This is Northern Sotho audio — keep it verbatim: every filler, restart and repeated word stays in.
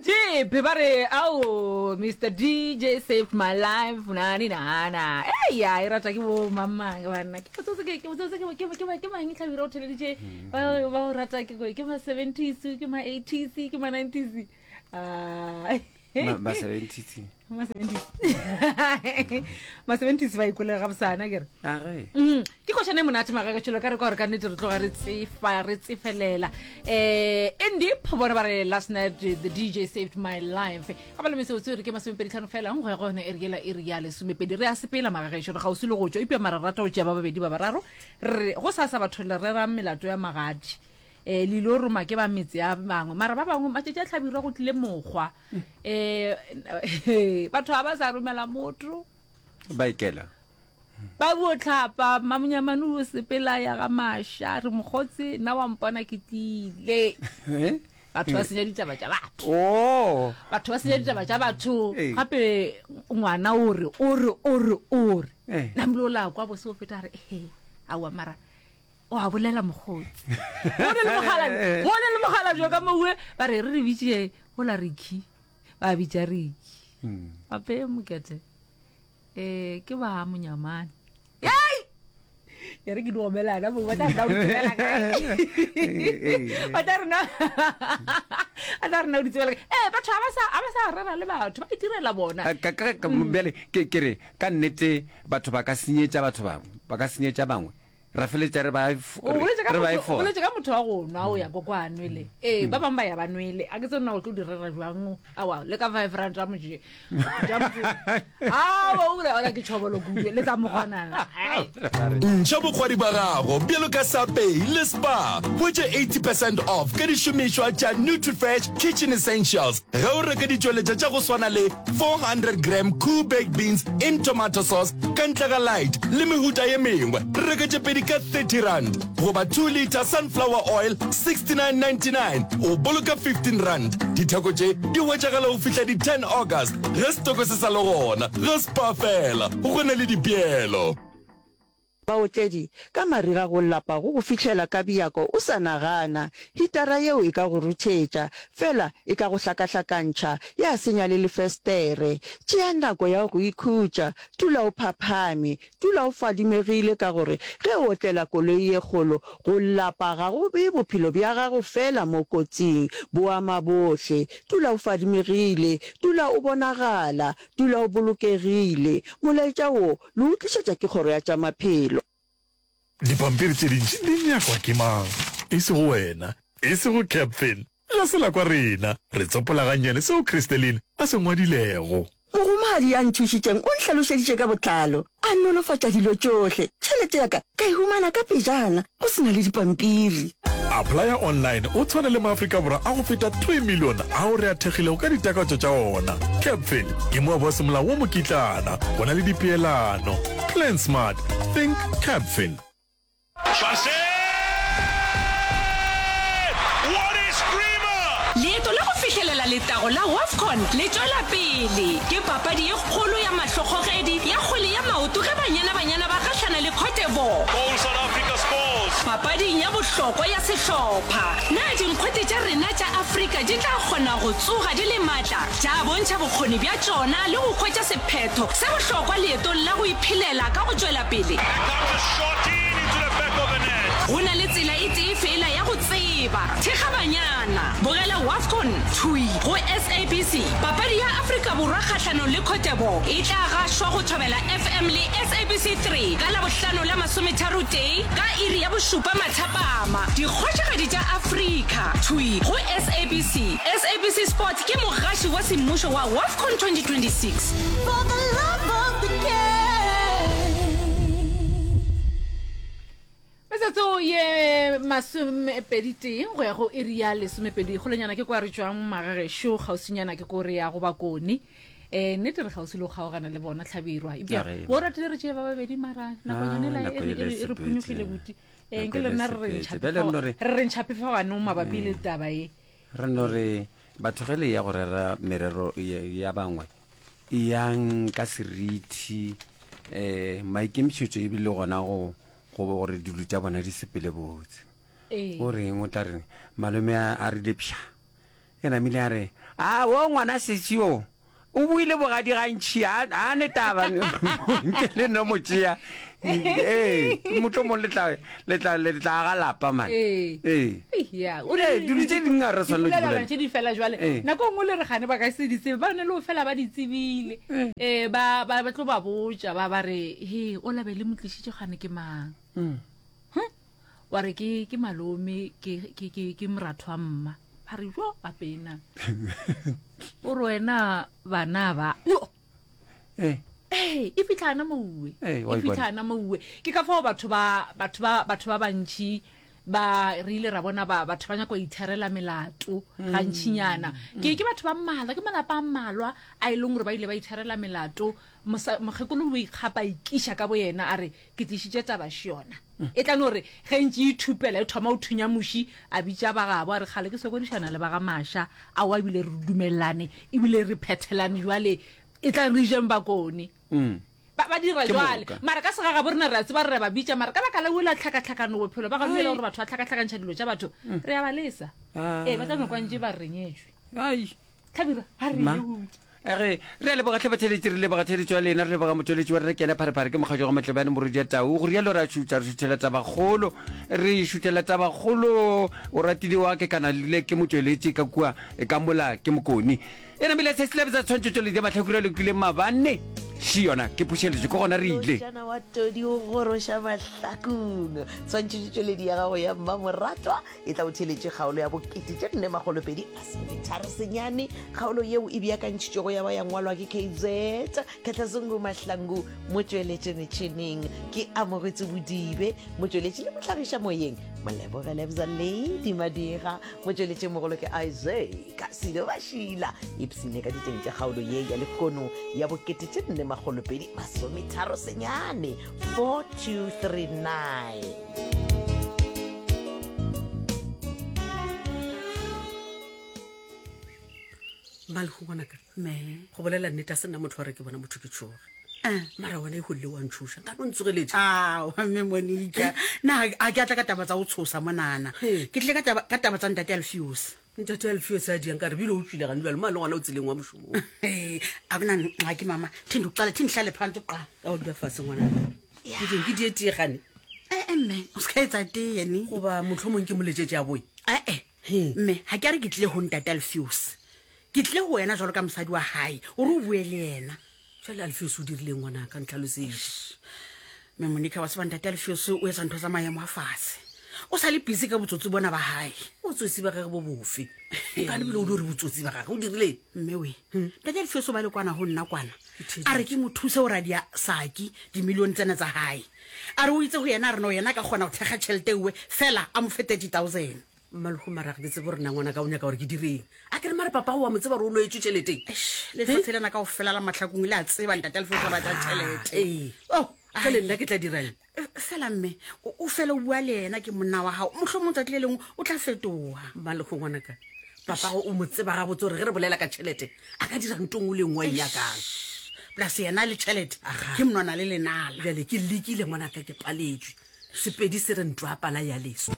Deep ba re ao Mister D J saved my life nani nana. Eya, e rata ke bo mamang banna. Ke botsotse ke ke botsotse ke ke ke ke mang tlhabira o theleditše ba ba o rata ke ke ma seventies, ke ma eighties, ke ma nineties. Ah. Ma seventies. Ma seventies. Ma seventies ba ikole ga bosana ke re. A ge. Mm, ke košane monate magakatšhelo ka re kwa gore ka nnete re tloga re tsefa re tsefelela. Eh Indip bona ba re last night the D J saved my life. Ga ba le mesotso re ke masomepedi tlhano fela go ya go yone e re yela e re ya lesomepedi re a sepela magagešo re gausi le go tšwa ipea mara rata go tšea ba babedi ba bararo re go sa sa batho le rera melato ya magadi. Eh le ile roma ke ba metse ya bangwe mara ba bangwe matšatši a tlhabirwa go tlile mokgwa eh batho ga ba sa romela motho ba ikela ba bo tlhapa mamonyamane o sepela ya ga maša re mokgotse nna wa mpona ke tlile batho ba senya ditaba tša batho oh batho ba senya ditaba tša batho gape ngwana o re o re o re o re namile o la kwa bose o feta re ehe aowa mara o a bolela mokgotsi go ne le mogala go ne le mogala jo ka mowe ba re re re bitše go la Ricky ba bitša Ricky gape mokete eh ke ba monyamane ei ya re ke di gomelana mo ba tla rena o di tsebela kae ba tla rena ba tla rena o di tsebela kae eh batho ga ba sa ga ba sa rera le batho ba itirela bona ka ka bjale ke ke re ka nnete batho ba ka senyetša batho bangwe ba ka senyetša bangwe ra feletša re ba re ba e boletse ka motho wa go nwa o ya ko kwa nwele ee ba bangwe ba ya ba nwele a ke tse nna o tlo di rera jwang awa le ka five rand a moje awa o ora ke tšhobolo kudu le tsa mogonana. Ntšha bokgwari ba gago bjalo ka Sapei le Spar. Hwetša eighty percent off ka dišomišwa tša Nutrifresh Kitchen Essentials ge o reka ditšweletša tša go swana le four hundred gram Koo Baked Beans in Tomato Sauce ka ntle ga light le mehuta ye mengwe. Reka tše pedi ka thirty rand goba two litre sunflower oil sixty nine ninety nine o boloka fifteen rand. Ditheko tše di hwetšagala go fihla di ten August ge setoko se sa le gona. Ga Spar fela go na le dipeelo. Baotledi, ka mariga go lapa go go fihlela ka bjako o sa nagana. Hitara yeo e ka go ruthetša, fela e ka go hlakahlakantšha, ya senya le lefestere. Tšea nako ya go ikhutša, dula o phaphame, dula o fadimegile ka gore ge o otlela koloi ye kgolo, go lapa ga go bee bophelo bja gago fela mo kotsing, bo ama bohle. Dula o fadimegile, dula o bonagala, dula o bolokegile. Molaetša wo le o tlišetša ke Kgoro ya tša Maphelo. Dipampiri tše dintši di nyakwa ke mang? E sego wena, e sego Captain. Ga se la kwa rena. Re tsopola gannyane seo Christeline a se ngwadilego. Mogomadi ya nthušitšeng o nhlalošeditše ka botlalo, a nolofatša dilo tšohle. Tšhelete ya ka ka e humana ka pejana, go se na le dipampiri. Applya online o tshwane le maAfrika Borwa a go feta three million ao re a thekgilego ka ditakatšo tša ona. Capfin ke moabi wa semolao wa mokitlana. Go na le dipeelano. Plan smart. Think Capfin. Leeto la go fihlelela letago la WAFCON le tšwela pele. Ke papadi ye kgolo ya mahlokgogedi ya kgwele ya maoto ge Banyana Banyana ba gahlana le Cote d'Ivoire papading ya bohlokwa ya sehlopha. Na dinkgwete tša rena tša Afrika di tla kgona go tsoga di le matla, tša bontšha bokgoni bja tšona le go hwetša sephetho se bohlokwa leetong la go iphelela ka go tšwela pele? Go na le tsela e tee feela ya go tseba. Thekga Banyana. Bogela WAFCON thwi go S A B C. Papadi ya Afrika Borwa kgahlanong le Cote d'Ivoire e tla gašwa go Thobela F M le S A B C three ka Labohlano la masometharotee ka iri ya bošupa mathapama. Dikgošigadi tša Afrika thwi go S A B C. S A B C Sport ke mogaši wa semmušo wa WAFCON twenty twenty-six. For the love of the game. Metsotso ye masomepedi tee go ya go iri ya lesomepedi kgolenyana ke kwa re tšwang magagešo kgauswinyana ke ko re ya go bakone um nnete re kgauswi le go kgaogana le bona tlhabirwa ebja bo ratile re tšee ba babedi mara nakonyane Ah, la nako e re- ele e re- e re sepetse. phonyokgile buti um Nako nke le ele rena re re sepetse. Bjale re no re- re re ntšhapefagwanong mabapi le taba ye. Re no re batho ge le ya go rera merero ya ya bangwe eyang ka seriti um maikemišetšo ebile gona go go gore dilo tša bona di sepele botse. Ee. O reng o tla re malome a a rile pša E namile a re, A wo ngwana sesi o, o buile bogadi gantši, a, a ne taba, nke le no mo tšea. Ee, mohlomong le tla, le tla, le tla aga lapa man. Ee. Ee. Ya, o Ee, dilo tše dingwe ga re swanelo di Dipolelwana bolela. tše di fela jwale. Ee. Nako e nngwe le re gane ba ka se di tsebe, ba ne le go fela ba di tsebile. Ee, ba, ba, ba tlo ba botša, ba, ba re, he, o labe le mo tlišitše gane ke mang? Mm. Hm? Wa re ke, ke malome, ke, ke, ke, ke moratho wa mma. Ba re, jo, apena. O re wena bana ba. Jo. Ee. Ee, e fitlhana mouwe. Ee, wa E e bona. fitlhana mouwe. Ke ka fao batho ba, batho ba, batho ba bantši ba re ile ra bona ba, batho ba nyaka go itherela melato Mm. gantšinyana. Ke, ke batho ba mmalwa, ke malapa a mmalwa a e leng gore ba ile ba itherela melato. Mosa, mokgekolo o ikgapa a ikiša ka boyena a re, ke tlišitše taba še yona. Mm. E tla no re ge ntše e ithupela e thoma go thunya muši, a bitša ba gabo a re kgale ke sokodišana le ba ga Maša, aowa ebile re dumelelane, ebile re phethelane jwale, e tla re jeng bakone. Mm. Ba, ba dira Ke jwale. moka. Mara ka segagabo rena re a tseba re re ba bitša, mara ka baka la ola tlhakatlhakano bophelo ba ga dumela gore batho ba tlhakatlhakantšha dilo tša batho, Mm. re a ba lesa. Ah. Ee, ba tla no kwa ntše ba re re nyetšwe. Ai. Hlabirwa, a re Ma. ye butše. Re re a leboga hle batheeletši, re leboga theeletšo ya lena, re leboga motšweletši wa rena ke yena Pharephare, ke mokgatšo wa Matlebane Morodi ya Tau. Go rialo re a šutha, re šuthela tabakgolo, re šuthela tabakgolo. O ratile wa ke kana le ke motšweletši ka kua ka mola ke Mokoni. E namile se se lebetsa tshwantšhetšo le mahlakore a lokileng maabane. Še yona ke phušeletšo, ke gona re ile. Mošana wa todi o goroša mahlakong. Tshwantšhetšotšweledi ya gago ya mmamoratwa e tla o theeletše kgaolo ya bokete tše nne makgolo pedi masometharo senyane. Kgaolo yeo e beakantšhitšwego ya ba ya ngwalwa ke K Z Khatlazungu Mahlangu, motšweletši metšhineng ke Amogetse Bodibe, motšweletši le mohlagiša moyeng Moleboge Lebza Lady Madira, motšweletši mogolo ke Isaac Sido Bashila. Ipsine ka diteng tša kgaolo ye ya lehono ya bokete tše nne makgolo pedi masometharo senyane, four two three nine. Malego ngwanaka, Me. go bolela nnete a se nna motho wa re ke bona motho ke tšhoge. Eh. Mara wena e golle wa ntšhoša, nka no ntsogeletša. Ao, mme Monica, na a ke a tla ka taba tsa go tshosa monana. He. Ke tlile ka taba, ka taba tsa ntate Alfios. Ntate Alfios a diang ka re bile o tswile gane jwale, mo a le gona o tseleng wa mošomong. He, a bona ngxaki mama, thi ndikuqala, thi ndihlale phantsi kuqala. Ka o dula fatshe ngwanaka. Ke ding ke die tee gane? Eh, eh, mme, o se ka etsa tee ne. Goba mohlomong ke moletšetše a boe. Eh, eh. He. Mme, ha ke a re ke tlile ho ntate Alfios. Ke tlile ho wena jwalo ka mosadi wa hae, o re o bue le yena. Jwale Alfios o dirileng ngwanaka, ntlhalosetše. Mme Monica, wa tseba ntate Alfios o etsa ntho tsa maemo a fatshe. O sa le busy ka botsotsi bona ba hae. Botsotsi ba gagwe bo bofe? Ka lebile o di re botsotsi ba gagwe, o dirileng? Mme we, ntate Alfios o ba le kwana ho nna kwana. A re ke mo thuse ho radia Saki dimilione tsena tsa hae. A re o itse ho yena, a re no yena a ka kgona ho thekga tjhelete ewe, fela a mo fe thirty thousand. Mmalego mara ga ke tsebe gore na ngwanaka o nyaka gore ke direng. A ke re mare papa o wa mo tseba gore o loetswe tjheleteng. Eish, lefatshe lena kaofela la mahlakong le a tseba ntate Alfios o rata tjhelete. Ee. Oh, Jwale nna ke tla dirang? Eh, fela mme, o, o fela o bua le yena ke monna wa hao. Mohlomong tsatsi le lengwe o tla fetoha. Mmalego ngwanaka, papa o mo tseba gabotse gore ge re bolela ka tjhelete, a ka dira ntho nngwe le nngwe a e nyakang. Plus yena le tjhelete, Aha. ke monwana le lenala. Bjale ke lekile ngwanaka, ke paletswe. Sepedi se re ntwa pala ya leso.